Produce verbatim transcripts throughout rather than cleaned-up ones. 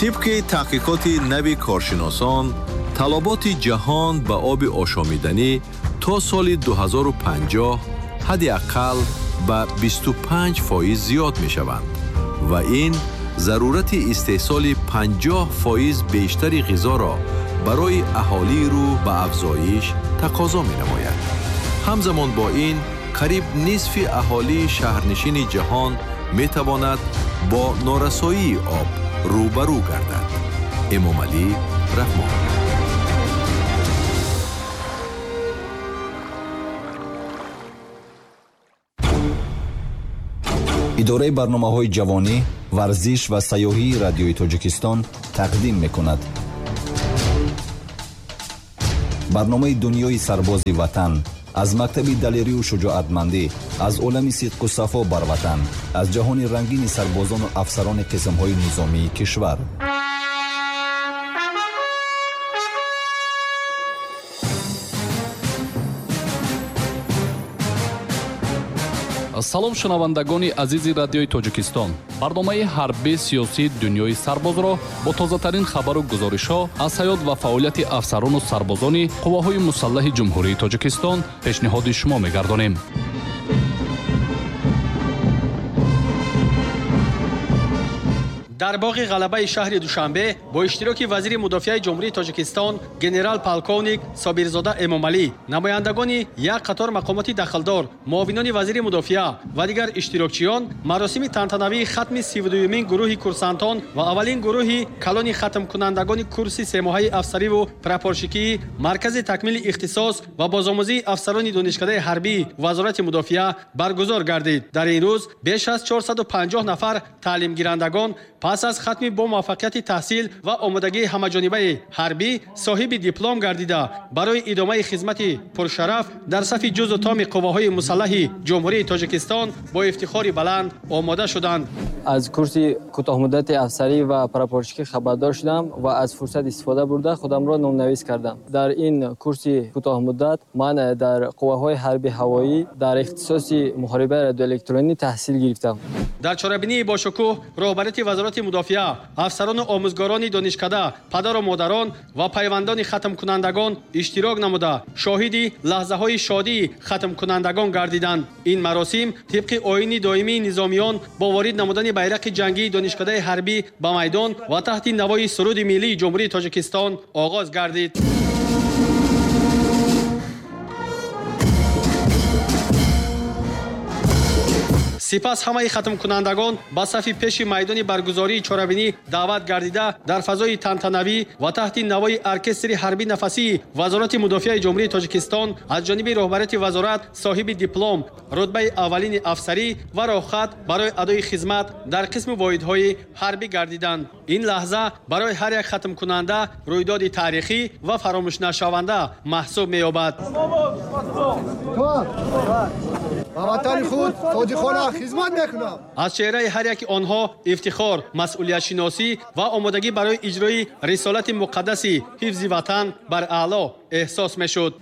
Тибқи таҳқиқоти нави коршиносон, талаботи ҷаҳон ба оби ошомиданӣ то соли ду ҳазору панҷоҳ ҳадди ақал ба бисту панҷ фоиз зиёд мешаванд ва ин зарурати истеҳсоли панҷоҳ фоиз бештари ғизоро барои аҳолии рӯ ба афзоиш тақозо менамояд. Ҳамзамон бо ин, қариб нисфи аҳолии шаҳрнишини ҷаҳон метавонад бо норасоии об рӯбарӯ гардад. Эмомалӣ Раҳмон. Идораи барномаҳои ҷавонӣ, варзиш ва сайёҳии радиои Тоҷикистон тақдим мекунад. Барномаи дунёи сарбози ватан аз мактаби далерию шуҷоатмандӣ, аз олами сидқу сафо бар ватан, аз ҷаҳони рангини сарбозону афсарони қисмҳои низомии кишвар. Салом шунавандагони азизи радиои Тоҷикистон. Барномаи ҳарбии сиёсии дунёи сарбозро бо тозатарин хабару гузоришҳо аз ҳаёт ва фаъолияти афсарону сарбозони қувваҳои мусаллаҳи Ҷумҳурии Тоҷикистон пешниҳоди шумо мегардонем. Дар боғи ғалабаи шаҳри Душанбе бо иштироки вазири мудофиаи Ҷумҳурии Тоҷикистон генерал полковник Собирзода Эмомалӣ, намояндагони як қатор мақомоти дахлдор, муовинони вазири мудофиа ва дигар иштирокчиён маросими тантанавии хатми сиву дуюмин гурӯҳи курсантон ва аввалин гурӯҳи калони хатмкунандагони курси семоҳаи афсариву прапорщикии Маркази такмили ихтисос ва бозомӯзии афсарони донишкадаи ҳарбии Вазорати мудофиа баргузор гардид. Дар ин рӯз беш аз чорсаду панҷоҳ нафар таълимгирандагон пас аз хатми бо муваффақияти таҳсил ва омодагии ҳамаҷонибаи ҳарбӣ соҳиби диплом гардида барои идомаи хизмати пуршараф дар сафи ҷузу томи қувваҳои мусаллаҳи Ҷумҳурии Тоҷикистон бо ифтихори баланд омода шуданд. Аз курси кӯтоҳмуддати афсарӣ ва прапорщикӣ хабардор шудам ва аз фурсат истифода бурда худамро номнавис кардам. Дар ин курси кӯтоҳмуддат ман дар қувваҳои ҳарби ҳавоӣ дар ихтисоси муҳорибаи радиоэлектронӣ таҳсил гирифтам. Дар чорабинии бошукӯҳ роҳбарияти Вазорати мудофиа, афсарону омӯзгорони донишкада, падару модарон ва пайвандони хатмкунандагон иштирок намуда шоҳиди лаҳзаҳои шодии хатмкунандагон гардиданд. Ин маросим тибқи оини доимии низомиён бо ворид намудани байрақи ҷангии донишкадаи ҳарбӣ ба майдон ва таҳти навои суруди миллии Ҷумҳурии Тоҷикистон оғоз гардид. Сипас ҳамаи хатмкунандагон ба сафи пеши майдони баргузории чорабинӣ даъват гардида дар фазои тантанавӣ ва таҳти навои оркестри ҳарбӣ нафасии Вазорати мудофиаи Ҷумҳурии Тоҷикистон аз ҷониби роҳбарияти вазорат соҳиби диплом, рутбаи аввалини афсарӣ ва роҳхат барои адои хизмат дар қисми воҳидҳои ҳарбӣ гардиданд. Ин лаҳза барои ҳар як хатмкунанда рӯйдоди таърихӣ ва фаромӯшнашаванда маҳсуб меёбад. Ба ватани худ содиқона хизмат мекунам. Аз чеҳраи ҳар яки онҳо ифтихор, масъулиятшиносӣ ва омодагӣ барои иҷрои рисолати муқаддаси ҳифзи ватан бар аъло эҳсос мешуд.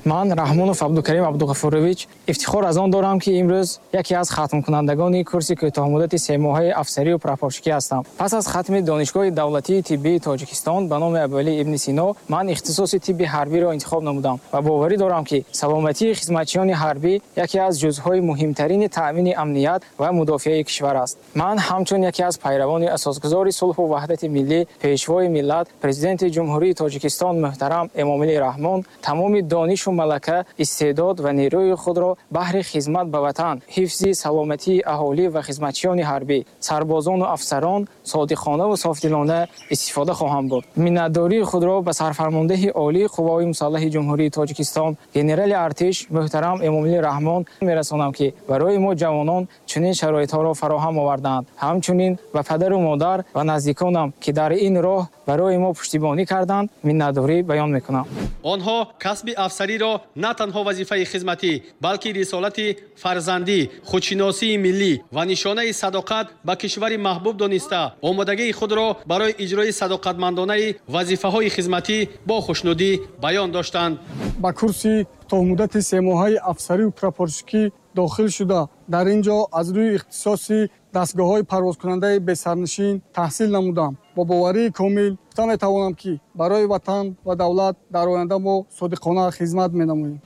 Ман Раҳмонов Абдукарим Абдуғафурович ифтихор аз он дорам, ки имрӯз яке аз хатмкунандагони курси кӯтоҳмуддати семоҳаи афсарию прапорщикӣ ҳастам. Пас аз хатми Донишгоҳи давлатии тиббии Тоҷикистон ба номи Абуалӣ ибни Сино ман ихтисоси тибби ҳарбиро интихоб намудам ва боварӣ дорам, ки саломатии хизматчиёни ҳарбӣ яке аз ҷузъҳои муҳимтарини таъмини амният ва мудофиаи кишвар аст. Ман ҳамчун яке аз пайравони асосгузори сулҳу ваҳдати миллӣ, пешвои миллат, президенти Ҷумҳурии Тоҷикистон муҳтарам Эмомалӣ Раҳмон тамоми донишу малака, истеъдод ва нерӯи худро баҳри хизмат ба ватан, ҳифзи саломатии аҳолӣ ва хизматчиёни ҳарбӣ, сарбозону афсарон содиқонаву софдилона истифода хоҳам бурд. Миннатдории худро ба сарфармондеҳи олии қувваҳои мусаллаҳи Ҷумҳурии Тоҷикистон генерали артиш муҳтарам Эмомалӣ Раҳмон мерасонам, ки барои мо ҷавонон чунин шароитҳоро фароҳам овардаанд. Ҳамчунин ба падару модар ва наздиконам, ки дар ин роҳ барои мо пуштибонӣ карданд, миннатдорӣ баён мекунам. Онҳо касби афсариро на танҳо вазифаи хизматӣ, балки рисолати фарзандӣ, худшиносии миллӣ ва нишонаи садоқат ба кишвари маҳбуб дониста, омодагии худро барои иҷрои садоқатмандонаи вазифаҳои хизматӣ бо хушнудӣ баён доштанд. Ба курси то муддати семоҳаи афсарию прапорщикӣ дохил шуда, дар ин ҷо аз рӯи ихтисоси дастгоҳҳои парвозкунандаи бесарнишин таҳсил намудам. Бо боварии комил гуфта метавонам, ки барои ватан ва давлат дар оянда мо содиқона хизмат менамоем.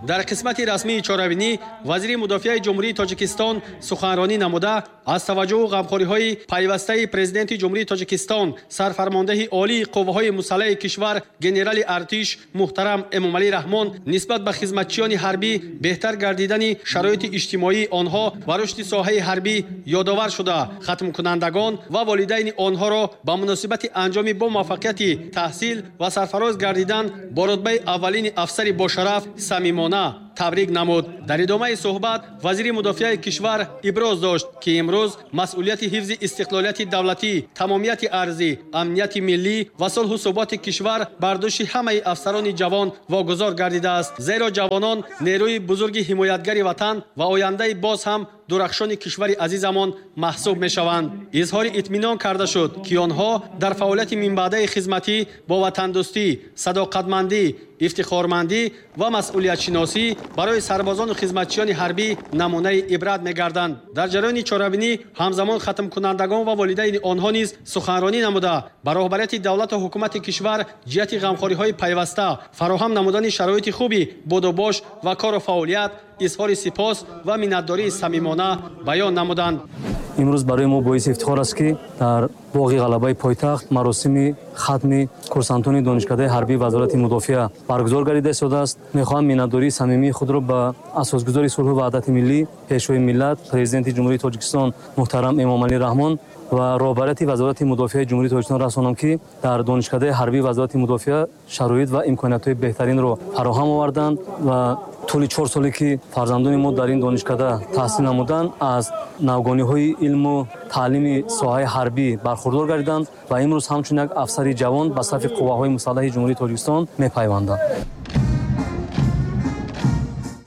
Дар қисмати расмии чорабинӣ вазири мудофиаи Ҷумҳурии Тоҷикистон суханронӣ намуда, аз таваҷҷӯҳу ғамхориҳои пайвастаи Президенти Ҷумҳурии Тоҷикистон, сарфармондаҳи олии қувваҳои мусаллаҳи кишвар генерали артиш муҳтарам Эмомалӣ Раҳмон нисбат ба хизматчиёни ҳарбӣ, беҳтар гардидани шароити иҷтимоии онҳо ва рушди соҳаи ҳарбӣ ёдовар шуда, хатмкунандагон ва волидайни онҳоро ба муносибати анҷоми бо муваффақияти таҳсил ва сарфароз гардидан бо рутбаи аввалини афсари бошараф самимона табрик намуд. Дар идомаи суҳбат вазири мудофиаи кишвар иброз дошт, ки имрӯз масъулияти ҳифзи истиқлолияти давлатӣ, тамомияти арзӣ, амнияти миллӣ ва сулҳу суботи кишвар бар дӯши ҳамаи афсарони ҷавон вогузор гардидааст, зеро ҷавонон нерӯи бузурги ҳимоятгари ватан ва ояндаи боз ҳам дурахшони кишвари азизамон маҳсуб мешаванд. Изҳори итминон карда шуд, ки онҳо дар фаъолияти минбаъдаи хизматӣ бо ватандӯстӣ, садоқатмандӣ, ифтихормандӣ ва масъулиятшиносӣ барои сарбозону хизматчиёни ҳарбӣ намунаи ибрат мегарданд. Дар ҷараёни чорабинӣ ҳамзамон хатмкунандагон ва волидайни онҳо низ суханронӣ намуда, ба роҳбарияти давлату ҳукумати кишвар ҷиҳати ғамхориҳои пайваста, фароҳам намудани шароити хуби будубош ва кору фаъолият изҳори сипос ва миннатдории самимона баён намуданд. Имрӯз барои мо боиси ифтихор аст, ки дар боғи ғалабаи пойтахт маросими хатми курсантони донишкадаи ҳарбии Вазорати мудофиа баргузор гардида истодааст. Мехоҳам миннатдории самимии худро ба асосгузори сулҳу ваҳдати миллӣ, Пешвои миллат, Президенти Ҷумҳурии Тоҷикистон муҳтарам Эмомалӣ Раҳмон ва роҳбарияти Вазорати мудофиаи Ҷумҳурии Тоҷикистон расонам, ки дар донишкадаи ҳарбии Вазорати мудофиа шароит ва имкониятҳои беҳтаринро фароҳам оварданд ва тӯли чор соле, ки фарзандони мо дар ин донишкада таҳсил намуданд, аз навгониҳои илму таълими соҳаи ҳарбӣ бархурдор гардиданд ва имрӯз ҳамчун як афсари ҷавон ба сафи қувваҳои мусаллаҳи Ҷумҳурии Тоҷикистон мепайванданд.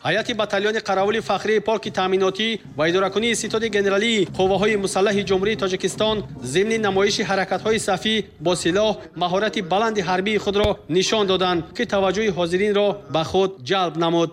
Ҳайати батальони қаравули фахрии полки таъминотӣ ва идоракунии ситоди генералии қувваҳои мусаллаҳи Ҷумҳурии Тоҷикистон зимни намоиши ҳаракатҳои сафӣ бо силоҳ маҳорати баланди ҳарбии худро нишон доданд, ки таваҷҷӯҳи ҳозиринро ба худ ҷалб намуд.